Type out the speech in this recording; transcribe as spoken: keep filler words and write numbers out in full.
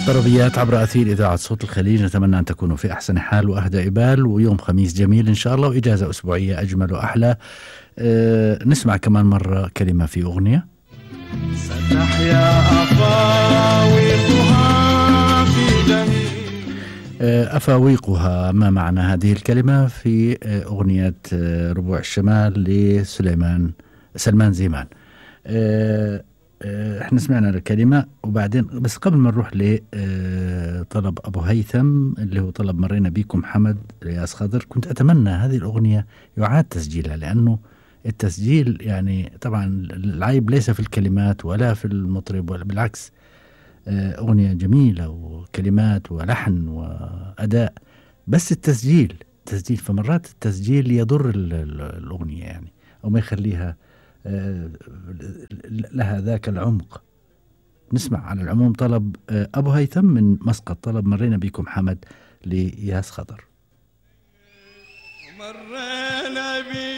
طربيات عبر أثير إذاعة صوت الخليج، نتمنى أن تكونوا في أحسن حال وأهدى إبال، ويوم خميس جميل إن شاء الله، وإجازة أسبوعية أجمل وأحلى. أه نسمع كمان مرة كلمة في أغنية. ستحيا أفاويقها في جميع أه أفاويقها، ما معنى هذه الكلمة في أغنية ربوع الشمال لسليمان سلمان زيمان. أه احنا سمعنا الكلمة وبعدين بس قبل ما نروح لطلب أبو هيثم اللي هو طلب مرينا بيكم حمد رياس خضر، كنت أتمنى هذه الأغنية يعاد تسجيلها، لأنه التسجيل يعني طبعا العيب ليس في الكلمات ولا في المطرب، ولا بالعكس، أغنية جميلة وكلمات ولحن وأداء، بس التسجيل تسجيل فمرات التسجيل يضر الأغنية يعني، أو ما يخليها لها ذاك العمق. نسمع على العموم طلب أبو هيثم من مسقط، طلب مرينا بكم حمد لياس خضر. مرينا بي